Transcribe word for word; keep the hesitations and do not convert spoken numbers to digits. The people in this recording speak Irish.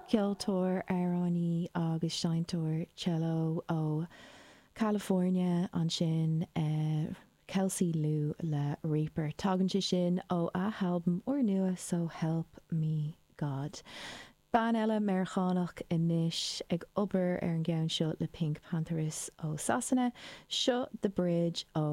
Ceoltóir amhránaí agus seinnteoir cello ó California ansin uh, Kelsey Lu le Reaper. Tagann sé sin ó a halbam úrnua So Help Me God. Bean eile Meiriceánach anois ag obair ar an gceann seo le PinkPantheress ó Sasana, seo The Bridge ó